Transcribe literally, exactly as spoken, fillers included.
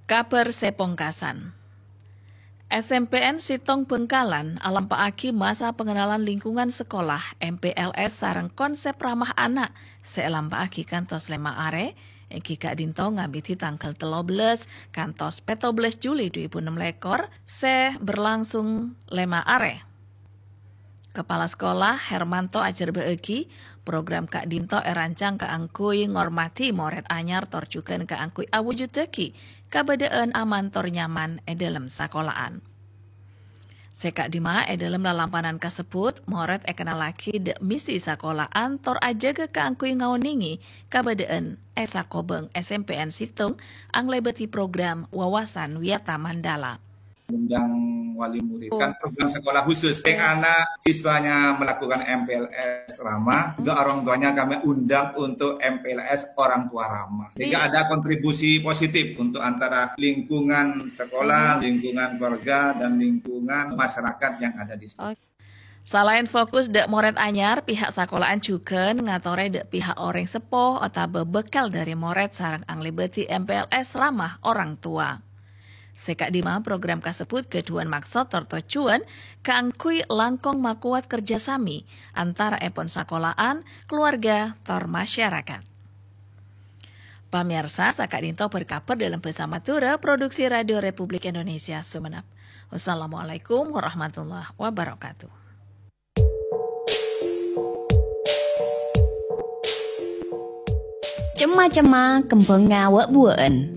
Kabhâr sè pongkasan. S M P N Sèttong Bhângkalan alampa'aghi masa pengenalan lingkungan sekolah, M P L S, sareng konsep ramah anak sè èlampa'aghi kantos lèma' arè, èngghi ka'dinto ngabidhi tangghâl tello bellâs kantos pètto bellâs Juli dhu èbu ennem lèkor sè berlangsung lèma' arè. Kepala Sekolah Hermanto ajhârbâ'âghi, program ka'dinto èrancang kaangghuy ngormadhi morèd anyar tor jhughân kaangghuy awujuddhâghi kabâdâ'ân aman tor nyaman è dhâlem sakola'an. Sè ka'dimma è dhâlem lalampanan kasebbhut, morèd èkennallaghi dhâ' misi sakola'an tor ajâgâ kaangghuy ngaonèngè kabâdâ'ân è sakobhâng S M P N Sèttong anglèbâdhi program Wawasan Wiyata Mandala. Undang wali murid. Kan program sekolah khusus. Yang anak siswanya melakukan M P L S ramah, juga orang tuanya kami undang untuk M P L S orang tua ramah. Sehingga ada kontribusi positif untuk antara lingkungan sekolah, lingkungan keluarga, dan lingkungan masyarakat yang ada di sekolah. Salaèn fokus dhâ' morèd anyar, pihak sakola'an jhughân ngatorè dhâ' pihak orèng seppo otabâ bhâkal dhâri morèd sareng anglèbâdhi M P L S ramah orang tua. Sè ka'dimma program kasebbhut ghâdhuwân maksod tor tojjhuwân kaangghuy langkong makowat kerjasami antaraèpon sakola'an, keluarga, tor masyarakat. Pamèyarsa, saka'dinto bhâr-kabhâr dhâlem bhâsa Madhurâ, produksi Radio Republik Indonesia Sumenep. Wassalamualaikum warahmatullahi wabarakatuh. Cemma-cemma kembhângnga wâ'-buwâ'ân.